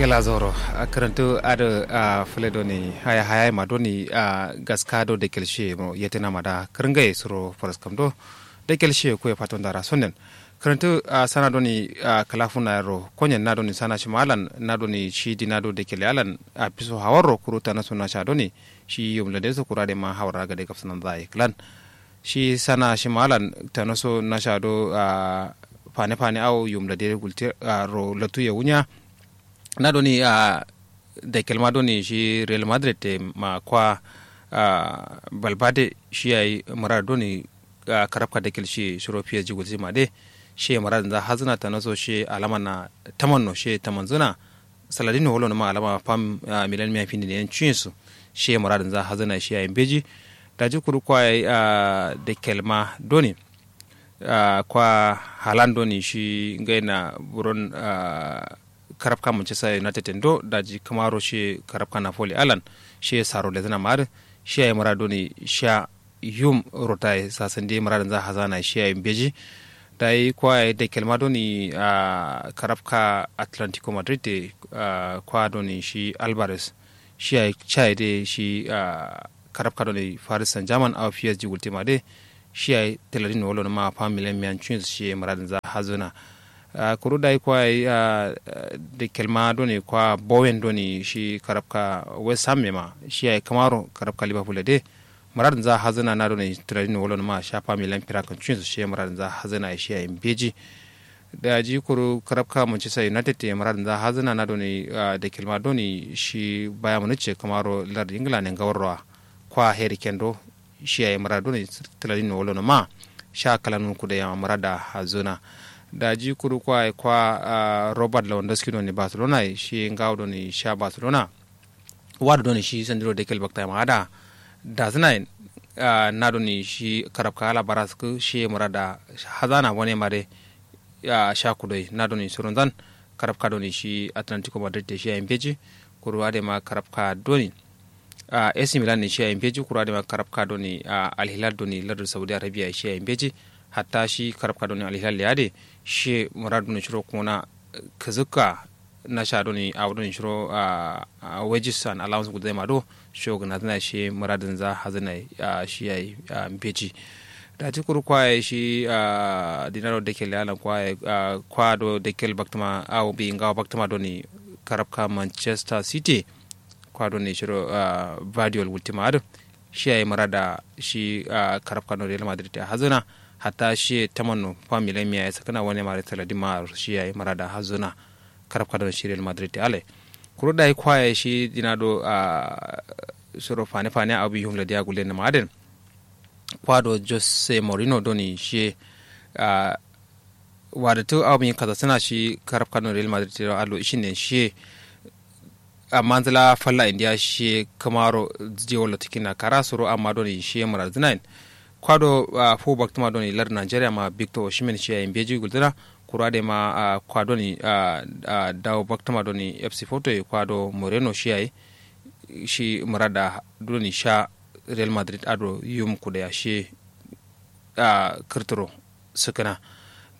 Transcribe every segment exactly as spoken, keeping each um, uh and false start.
Kǝla zauro. Kǝrǝntǝ adǝ fǝle doni haya haya ma doni gaska do dakel shiye mo yetǝna ma da kǝrǝngaye suro faraskam do dakel shiye kuye faton dara sonnen. Kǝrǝntǝ sana doni kǝla funa yero konyen na doni sana shima alan na doni shi dina do dakel alan afiso hawarro kuru tana so nasha doni shi yum lade so kura de ma hawar raga de gafsanan zaye klan. Shi sana shima alan tana so nasha do fane fane awo yum lade gulte ro latu ye wunya. Na doni a dakel ma doni shi real madrid te ma kwa a balbade shi yayi murar doni a karabka dakel shi shiro psg gulsi ma de. Shi murar za hazna tana so shi alama na tamanno shi tamanzuna. Saladin wolo ma alama fam a milan miya findi ne yan cuyin su. Shi murar za hazna shi yayi beji. Daji kuru kwa yayi a dakel ma doni a kwa halan doni shi ngaina buron a karabka manchester united do daji kǝmaro shi karabka napoli alan shi saro lezǝna ma adǝ. Shi yayi mura doni sha yum rotaye sasande mura dǝnza hazana shi yayi mbeji. Dayi kwa yayi dakel ma doni a karabka atlantico madrid de a kwa doni shi alvarez shi yayi caye de shi a karabka doni paris saint germain au psg gultima de. Shi yayi tǝladin wolo nǝma fa milan miyan cuyin shi ye muradin za hazuna. Kuru dayi kwa yayi a dakel ma doni kwa bowen doni shi karabka west ham ye ma shi yayi kǝmaro karabka liverpool ye de. Muradin za hazuna na doni tǝladin wolo nǝma sha fa milan firakan cuyin shi ye muradin za hazuna ye shi yayi mbeji. Daji kuru karabka manchester united ye muradin za hazuna na doni dakel ma doni shi baya munich ye kǝmaro lar ingila ne ngawarrowa. Kwa heri kendo shi yayi murad doni tǝladin no wolo no ma sha kalanun kude yama murada hazuna. Daji kuru kwa kwa robert lewandowski doni barcelona ye shi ngawo doni sha barcelona. Wado doni shi sandiro dekel bakta ma ada dazǝna yen na doni shi karabka ala baraskǝ shi murada hazana bone mare. Sha kudoi na doni surunzan karabka doni shi atlantico madrid te shi yayi mbeji. Kuru adema karabka doni a ac milan ne shi yayi mbeji kuru adema karabka doni a alhilal doni lardǝ saudi arabia shi yayi mbeji. Hatta shi karabka doni alhilal le ade shi murad doni shiro kuna kǝzǝkka nasha doni awo doni shiro a wages and allowance gulzai ma do. Sho gǝnazǝna shi muradǝnza hazǝna shi yayi mbeji. Daji kuru kwa yayi shi a dinaro dekel yalan kwa yayi kwa do dekel baktǝma awo bi ngawo baktǝma doni karabka manchester city. Kwa doni shiro a vadiol gultima adǝ shi yayi murada shi a karabka no real madrid ya hazuna. Hatta shi tamanno fa milan miya ya sakana wani mare saladin ma shi yayi murada hazuna. Karabka don shi real madrid te alai kuru dayi kwa yayi shi dina do a shiro fane fane abu yum ladiya gulle na maden. Kwa do jose mourinho doni shi a wadatu awo bin kaza sǝna shi karabka no real madrid te alo ishin ne shi. Amma nzǝla falla indiya shi kǝmaro diyo latikin na kara suro amma doni shi murar zinayin. Kwa do fu baktuma doni lar nigeria ma victor oshimen shi yayi mbeji gulzǝna. Kuru adema kwa doni dawo baktuma doni fc foto ye kwa do moreno shi yayi shi murada doni sha real madrid ado yum kude ya shi a kǝrtǝro sǝkǝna.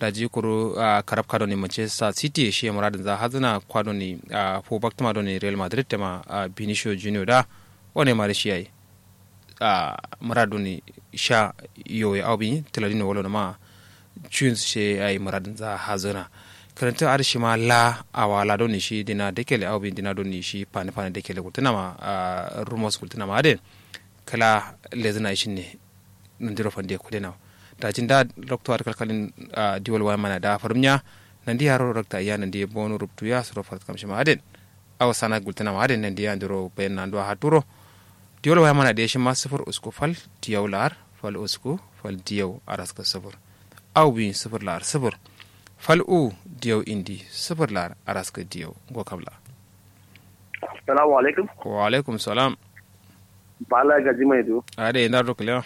Daji kuru a karabka doni manchester city ye shi ye muradǝnza hazǝna kwa doni a fu baktǝma doni real madrid tema a benicio junior da wane mare shi yayi a murad doni sha yowe awo bin tǝladin no wolo nǝma cuyin shi yayi muradǝnza hazǝna. Kǝrantǝ adǝ shima la awa la doni shi dina dekele awo bin dina doni shi fane fane dekele gultǝna ma a rumors gultǝna ma adǝ kǝla lezǝna ishin ne. Nandiro fande kude nawo daji nda lokto adǝ kalkalin diwol waya mana da farum nya. Nandi yaro rakta iya nandi bono rubtu ya suro farat kam shima aden. Awo sana gultǝna ma aden nandi ya ndiro bayan nando a haturo. Diwol waya mana de shima sifir usku fal diyau la'ar fal usku fal diyau araska sifir. Awo bin sifir la'ar sifir fal u diyau indi sifir la'ar araska diyau ngo kam la. Assalamu alaikum. Wa alaikum salam. Bala gaji mai do. Ade ndar do kalewa.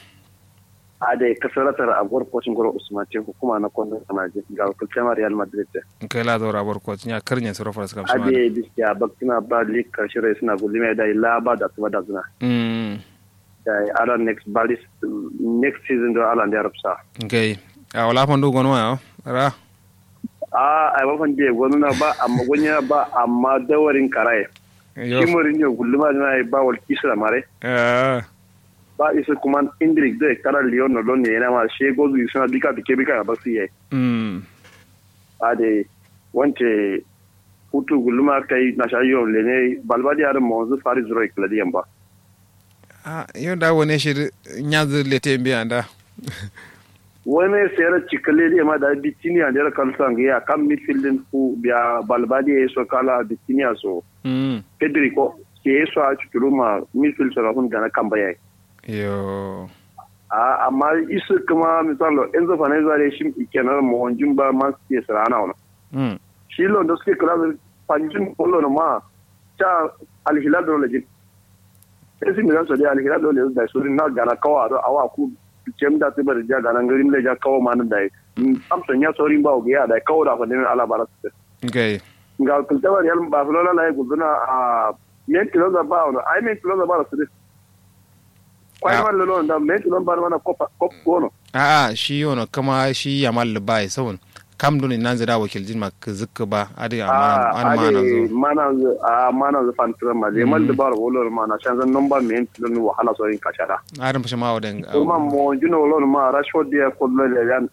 Ade kasaratar agwar kocin goro usman ce hukuma na kwando sanaji ga wakilcin real madrid. Kai la zaura agwar kocin ya karnyen suro faras kam shima ade biskiya baktina ba lik karshe rai suna gulli mai da illa ba da tuba da zuna. Mm. Da ala next balis next season do ala da rufsa. Kai a wala fandu gono ya ra. A ai mafan diye gozuna ba amma gonya ba amma dawarin karaye. Shi morinyo gulluma dina ye ba wal kisra mare. Ba isu kuman indrik de kara liyon no don ne yana ma she gozu isuna bika bike bika ba su ye. Ade wance hutu gulluma kai na sha yo lene balbadi adin monzu fari zuro ikladi yamba. A yo da wane shi nyanzu lete mbi anda. Wane sera cikale de ma da bitini ande ra kalsa ngi ya kam midfield din ku biya balbadi ya so kala bitini ya so. Pedri ko ke so a cuturu ma midfield so na hun gana kamba ya. Yo. A amma isu kuma misalo enzo fanaiza de shim ikenar mo jumba man ke sarana wana. Shi londo suke kula da fanjin kullo ma ta alhilal do lejin. Esi milan so de alhilal do lejin da suri na gana kawa do awa ku jem da tibar ja gana ngarim le ja kawa man da. Am so nya sori ba ogiya da kawa da fadin ala bara su. Okay. Ga kulta ba real barcelona la guduna a men kilo da ba wala ai men kilo da ba su. Kwai man lolo da men kilo ba mana kopa kop kono. A'a shi yono kama shi yamal ba ya saun. Kam duni nan zira wakil jin ma kizikka ba adi a mana mana zo. Mana zo a mana zo fantiran ma zai mal da ba wala mana shan zan nomba men kilo wahala so yin kashara. Adam shi ma wadan. Kuma mo juno wala ma rashford ya kullu le yan.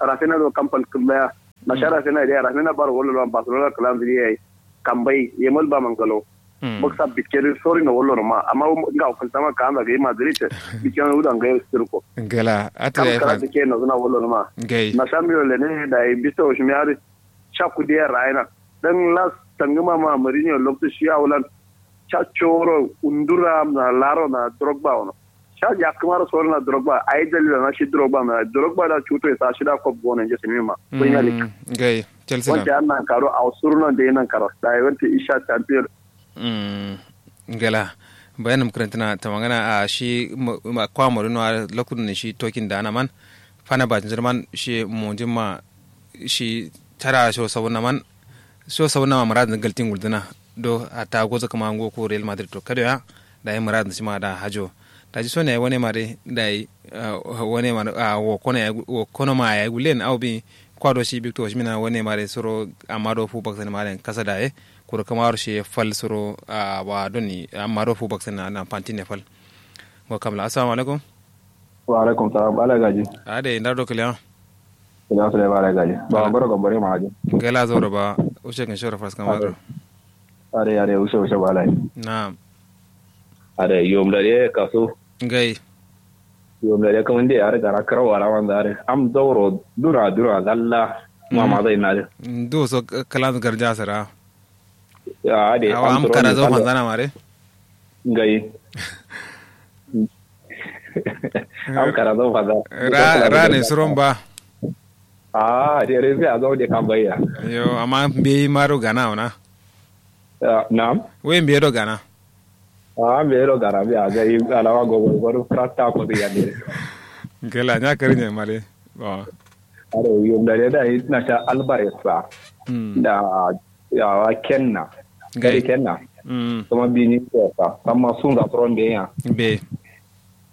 Rafina do kampal kullu ya. Na sha rafina da rafina ba wala barcelona kalan zai yi. Kambai yemal ba mangalo. Baksa bikkeri sori no wollo no ma amma nga o kantama ka anda ga madrid. Bikkeri uda nga sirko. Gala ata kam ya kara fa dike no zuna wollo no ma. Gai na samiro le ne da bisto shimiari. Sha kudiya raina dan las tanguma ma marinho lokto shi awlan. Sha choro undura na laro na drogba ono. Sha ya kamar soro na drogba ai dalila na shi drogba na drogba da cuto ya sa shi da kop gona je sinima. Premier league. Gai chelsea na wanda an nan karo a suruna da nan karo da wanda isha champion. Gala bayanam kǝrantǝna tamangana a shi kwa morino a loktu dǝ shi tokin dana man. Fana ba jǝnjǝr man shi monjin ma shi tara sho sabunna man. Sho sabunna ma murad galtin gulduna do hatta gozo kǝma ngo ko real madrid to kado ya. Dayi murad shi ma da hajo daji so ne wane ma dai dayi wane ma wo kono ma yayi gullen au bi. Kwa do shi bikto shi mina wane ma dai suro amma do fu baksan ma dai kasa daye. Kuro kama waro shi fal suro a wa doni amma do fu baksan na pantin ne fal. Ngo kamla assalamu alaikum. Wa alaikum salam bala gaji. Ade inda do kiliya. Ina sule bala gaji ba baro gambare ma hajo. Gela zoro ba ushe kan shora fas kama do. Ade ade ushe ushe bala. Na'am. Ade yom da de kaso. Ngai. Yom da de kaman de are gara kara wala wanda are am zauro dura dura lalla. Mama zai na de. Ndo so kalan garja sara. Awa am kara zo fanzana mare. Ngai. Am kara zo fanzana. Ra ne suron ba. A de re sai a zo de kan bayya. Yo amma mbeyi maro gana wana. Na'am. We mbeyi do gana. A mbeyi do gana mbeyi a ga yi alawa gogo gogo prasta ko ya ne. Gela nya kari ne mare. Are yom da da na sha albares ba. Da yawa kenna. Gari kenna. Kuma bini ko sa amma sun ga tron be ya. Be.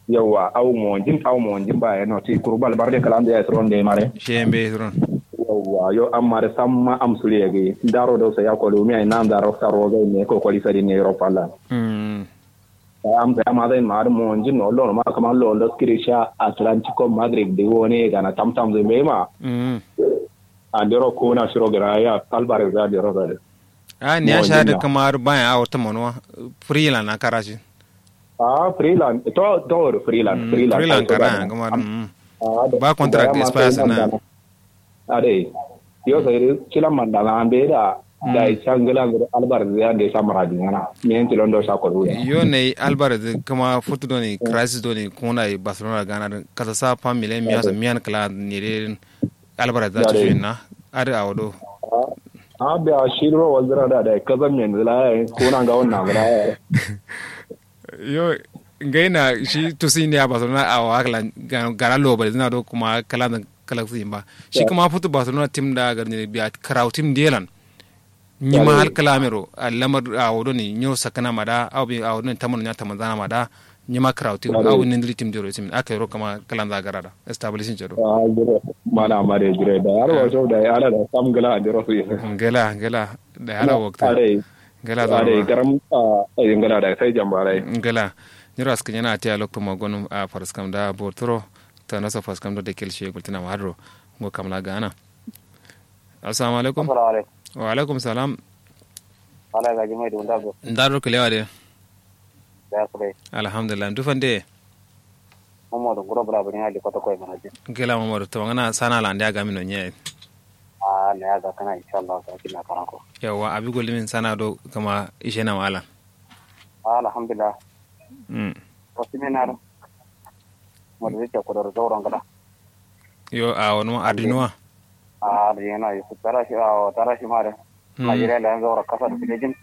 Yawa au monjin au monjin ba ya no ti kuru bal barde kalam ya tron de mare. Shembe tron. Yawa yo amma da samma am suriye ge daro do sa ya ko lumi ai nan daro sa roga ne ko ko lisa di ne europa la. Am sai amma zai ma har monjin no lo ma kamar lo lo skiri sha atlantico madrid de wone gana tamtam zai be ma. Andero ko na shiro gana ya alvarez da andero da. A ni ya sha da kamar bayan awo ta manuwa. Freeland na karashi. A freeland to to freeland freeland freeland kara kamar. Ba contract expire sana. Ade yo sai dai kila mandana ambe da. Da ya sha ngila ngila albar ya da ya sha maradi ngana miyan tilon do sha kodu. Yo ne albar kuma futu doni crisis doni kuna barcelona gana kasa sa fa milen miya so miyan kala ne dai. Albar da ci na. Ade awo do. A da shiro wazira da da kazan men zila ya kuna ga wannan zila ya. Yo ngai na shi tusi ne a barcelona a wa kala gana lobar zina do kuma kala kala su ba shi kuma futu barcelona tim da garni biya karau tim delan. Ni ma hal kala mero a lamar a wodo ni nyo sakana ma da a wobi a wodo ni tamar nya tamar zana ma da. Nyima kǝrautin awo nindǝri tim dero isimin aka yero kǝma kǝlanza garada establishing cero. Mana mare jire da har wato da ya ala da sam gala andero su yin. Ngela ngela da ya ala waktu. Ngela zoro ma garam. Ngela da sai jambarai. Ngela. Nyiro askǝ nyana atiya loktu ma gonum a faraskam da borturo. Tana so faraskam do da kel shi gultina ma hadro. Ngo kamla gana. Assalamu alaikum. Wa alaikum salam. Ala gaji mai dunda go. Ndaro kilewa de. Alhamdulillah ndu fande. Momodu nguro bula buri ngali koto koy mana je. Gela momodu to ngana sana la ndia gamino nye. Ah ne aga kana inshallah sa kina kana ko. Yawa abi golimin sana do kama ishe na mala. Alhamdulillah. Mm. Ko seminar. Modu je ko do zoro ngala. Yo a wani adinuwa. A adinwa yo tarashi a tarashi mare. Najeriya la yanzu wara kasa da filejin.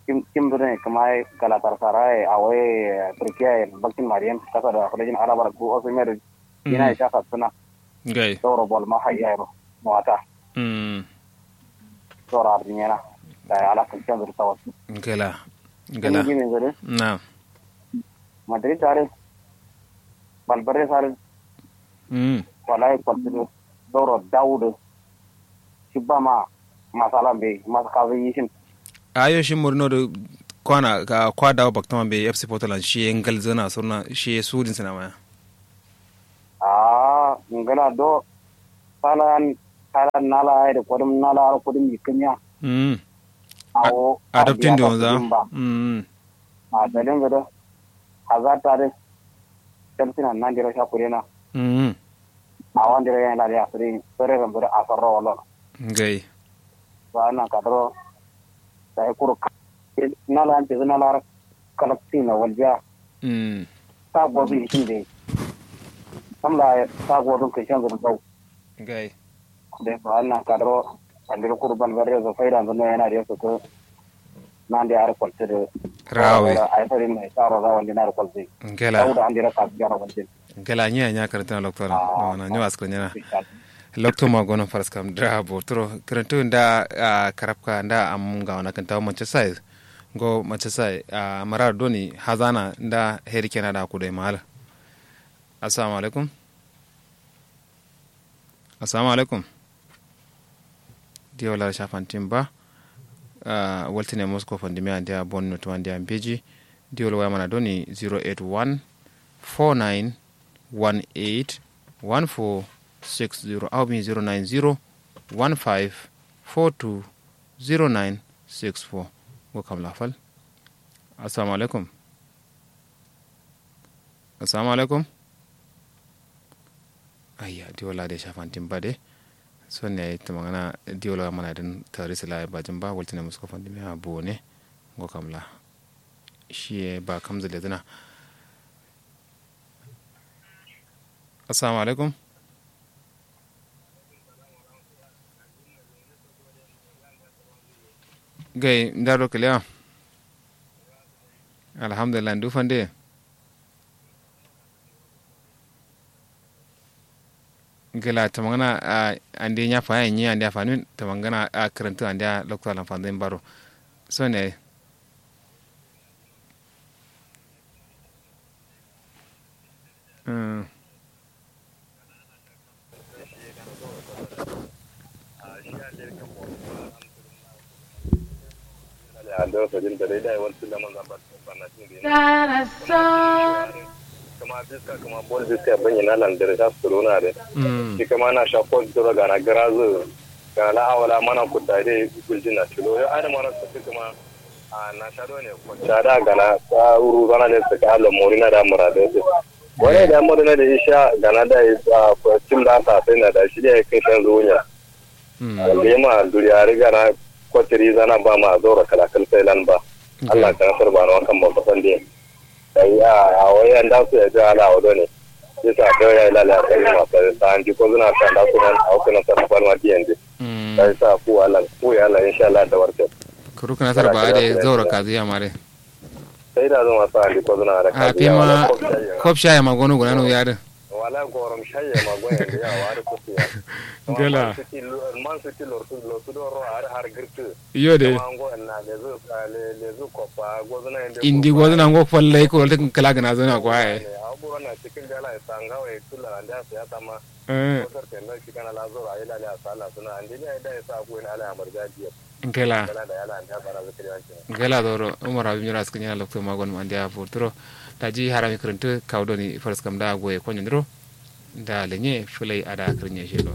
Kim kim dune kuma galatar saraye a wai turkiya ya bakin mariyan kasa da filejin alabar ku osu mai da ina ya shaka suna. Gai sauro bol ma hayya yaro mawata. Mm. Sauro ardinyana da ya ala kan canza da sawa. Gala gala. Gini gini zare. Na madrid tare balbare sare. Mm. Wallahi kwaltino doro dawudu. Shi ba ma masala mbe masu kazin yishin. Ayo shi murino da kwana ka kwa dawo baktama mbe fc portland shi ya ngal zana surna shi ya sudin sina maya. Ah ngana do salan salan nala ai da kudum nala har kudum yikimiya. Mm. Awo adaptin da wanza. Mm. A dalin gado hazata dai. Tamsina nan dira sha kurena. Mm. A wanda ya yana da asiri sore rambu da asarro wallo. Ngai. Ba nan kadro sai kuru nala an tizu nala kalakti na walja. Mm. Ta gozu ishin dai. Samla ta gozu kai shan zuru bau. Ngai. Dai ba nan kadro andiro kuru balbare zo faida zunno yana da yasu ko. Nande ar koltede rawe. Ay fari mai taro rawan dinar koltede. Ngela dauda andira ka jara wandin. Ngela nya nya karantana loktora. Mana nyo askar nyana. Lokto ma gono faraskam dra botro karantu nda karabka nda am ga wana kanta manchester. Ngo manchester mara doni hazana nda heri kena da kudai mal. Assalamu alaikum. Assalamu alaikum. Diyo la sha fantin ba. Waltine moscow fandimiya andiya bon notuwa andiya mbeji. Diyo la waya mana doni zero eight one four nine one eight one four six zero au bin zero nine zero one five four two zero nine six four. Ngo kam la fal. Assalamu alaikum. Assalamu alaikum. Ayya diwola de shafantin ba de. Son ne ayi tamangana diwola mana din tari sila ba jin ba waltine musko fandin ya bo ne. Ngo kamla shiye ba kamza lezina. Assalamu alaikum. Gai ndaro kiliya. Alhamdulillah ndu fande. Gila tamangana. Ande nya fa nya ande afanin tamangana a karantu ande a lokta lan fanzin baro. So ne. Kǝma biska kǝma bol biska bǝnyi na lan dǝrǝ sha sǝruna dǝ. Shi kǝma na sha kol duro gana gǝrazǝ gana la awala mana kutta dǝ guljin na cilo yo adǝ mara sǝkkǝ kǝma. A na sha done kocca da gana sa uru zana de sǝka allo morina da murade de. Wani da morina de isha gana da tim da sa sai na da shi de kai shan zunya. Lema duriya riga na kociri zana ba ma zoro kala kal sai lan ba. Allah kan sar ba no kan ba kusan de. Sai a a wai an da su ya ji ala wa done. Isa da ya lala sai ma sai sa an ji ko zuna sa da su nan au kana sa ba ma diyan de. Sai sa ku Allah ku ya Allah insha Allah da warke. Kuru kana sar ba de zaura kaziya mare. Sai da zuma sa andi ko zuna da a kaziya fima wala kop shayi ma gono guna no yadin. Wala gorom shayye ma goyen de yawa har kutu ya. Ngela. Man su ti lortu lortu do ro har har girtu. Iyo de. Kuma ngo na lezu lezu kopa gozuna inde. Indi gozuna ngo falle ko te kala gana zuna ko ai. Abu na cikin dala sanga wai tula anda siyasa ma. Eh. Ko sarten da shi kana la zoro ai la la sala suna ande ne ai da ya sa ku ina ala amar jajiya. Nkela. Nkela zoro umar abin yura suka nyana lokto magon ma andiya furturo. Daji harami krintu kaudoni faras kam da goye konyo ndiro. Da lenye fulai ada krinye shelo.